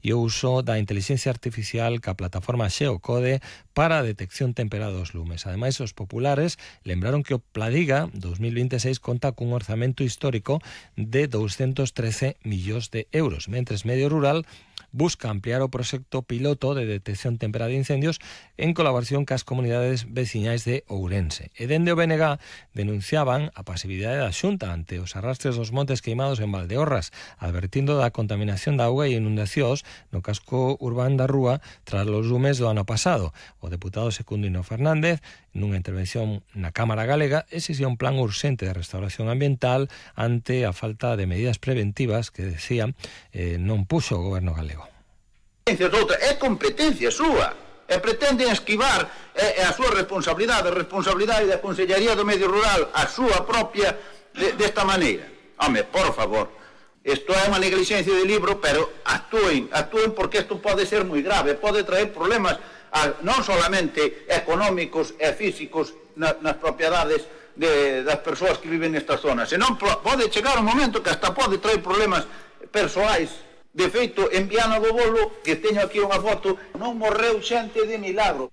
e o uso da inteligencia artificial ca plataforma Xeocode para a detección temperada dos lumes. Ademais, os populares lembraron que o Pladiga 2026 conta cun orzamento histórico de 213 millóns de euros, mentres Medio Rural busca ampliar o proxecto piloto de detección temperada de incendios en colaboración cas comunidades veciñais de Ourense. E dende o BNG denunciaban a pasividade da Xunta ante os arrastres dos montes queimados en Valdeorras, advertindo da contaminación da auga e inundacións no casco urbano da Rúa tras os lumes do ano pasado. O deputado Secundino Fernández, nunha intervención na Cámara Galega, exixía un plan urxente de restauración ambiental ante a falta de medidas preventivas que, decía, non puxo o goberno galego. É competencia súa, e pretenden esquivar a súa responsabilidade, a responsabilidade da Consellería do Medio Rural, a súa propia, desta maneira. Home, por favor, isto é unha negligencia de libro, pero actúen porque isto pode ser moi grave, pode traer problemas non solamente económicos e físicos nas propiedades das persoas que viven nestas zonas, senón pode chegar un momento que hasta pode traer problemas persoais. De feito, en Viana do Bolo, que teño aquí unha foto, non morreu xente de milagro.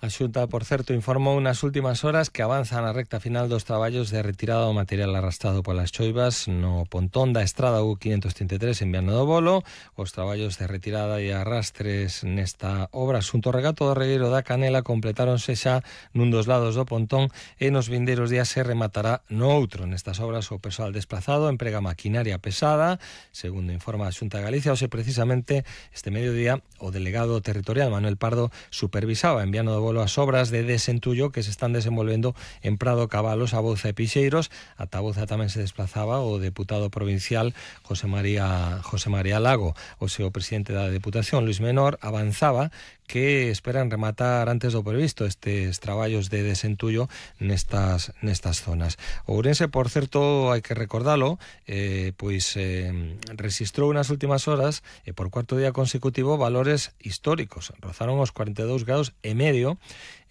A Xunta, por certo, informou nas últimas horas que avanza na recta final dos traballos de retirada do material arrastrado polas choivas no pontón da estrada U533 en Viana do Bolo. Os traballos de retirada e arrastres nesta obra xunto ao regato do regueiro da Canela completáronse xa nun dos lados do pontón e nos vindeiros días se rematará no outro. Nestas obras o persoal desplazado emprega maquinaria pesada, segundo informa a Xunta de Galicia. Hoxe, precisamente, este mediodía, o delegado territorial Manuel Pardo supervisaba en Viana do Bolo as obras de desentullo que se están desenvolvendo en Prado, Cabalos, Abouza e Pixeiros. Ata Abouza tamén se desplazaba o deputado provincial José María Lago. O seu presidente da Deputación, Luis Menor, avanzaba que esperan rematar antes do previsto estes traballos de desentullo nestas zonas. Ourense, por certo, hai que recordalo, registrou nas últimas horas e por cuarto día consecutivo valores históricos. Rozaron os 42 graus e medio.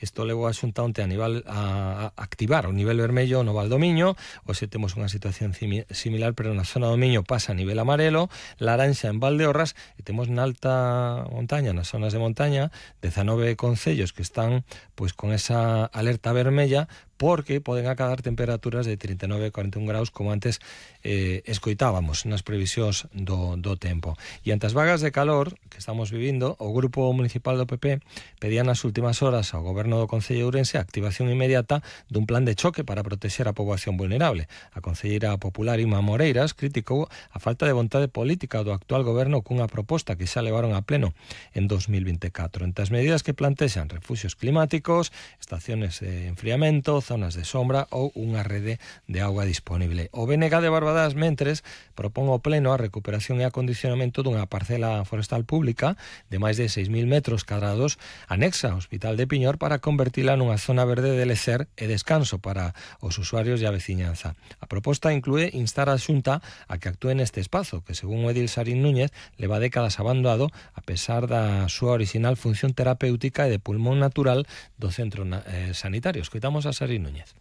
Isto levou a Xunta onte a activar o nivel vermello no Val do Miño. Hoxe temos unha situación similar, pero na zona do Miño pasa a nivel amarelo, laranxa en Valdeorras, e temos na alta montaña, nas zonas de montaña, 19 concellos que están con esa alerta vermella, porque poden acadar temperaturas de 39 e 41 graus, como antes escoitábamos nas previsións do tempo. E ante as vagas de calor que estamos vivindo, o Grupo Municipal do PP pedía nas últimas horas ao Goberno do Concello de Ourense a activación inmediata dun plan de choque para protexer a poboación vulnerable. A concelleira popular Ima Moreiras criticou a falta de vontade política do actual goberno cunha proposta que xa levaron a pleno en 2024. Entre as medidas que plantexan refuxios climáticos, estaciones de enfriamento, zonas de sombra ou unha rede de auga disponible. O BNG de Barbadás, mentres, propón ao pleno a recuperación e acondicionamento dunha parcela forestal pública de máis de 6.000 metros cadrados anexa ao Hospital de Piñor para convertila nunha zona verde de lecer e descanso para os usuarios e a veciñanza. A proposta inclúe instar a Xunta a que actúe neste espazo, que según o edil Sarín Núñez leva décadas abandonado a pesar da súa original función terapéutica e de pulmón natural do centro sanitario. Escoitamos a Sarín Núñez.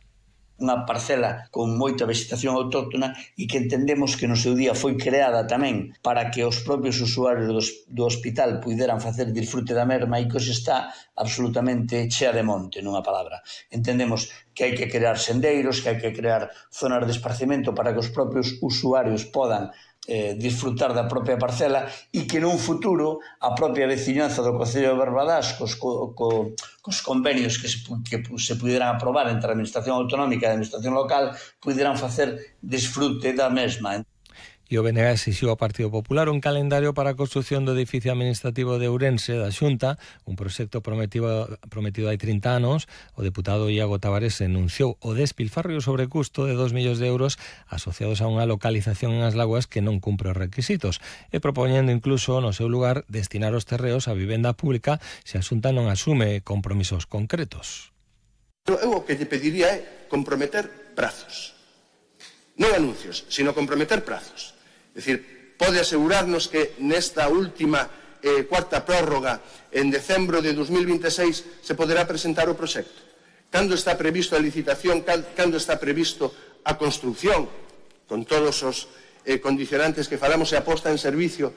Unha parcela con moita vegetación autóctona e que entendemos que no seu día foi creada tamén para que os propios usuarios do hospital puideran facer disfrute da merma e que hoxe está absolutamente chea de monte, nunha palabra. Entendemos que hai que crear sendeiros, que hai que crear zonas de esparcimento para que os propios usuarios podan disfrutar da propia parcela e que nun futuro a propia veciñanza do Concello de Barbadás cos convenios que se puderan aprobar entre a Administración Autonómica e a Administración Local puderan facer disfrute da mesma. E o BNG exixiu ao Partido Popular un calendario para a construción do edificio administrativo de Ourense da Xunta, un proxecto prometido hai 30 anos. O deputado Iago Tavares denunciou o despilfarro e o sobrecusto de 2 millóns de euros asociados a unha localización en As Lagoas que non cumpre os requisitos, e propoñendo incluso no seu lugar destinar os terreos a vivenda pública se a Xunta non asume compromisos concretos. Eu o que lle pediría é comprometer prazos, non anuncios, sino comprometer prazos. É dicir, pode asegurarnos que nesta última cuarta prórroga en decembro de 2026 se poderá presentar o proxecto. Cando está previsto a licitación, cando está previsto a construción, con todos os condicionantes que falamos e a posta en servicio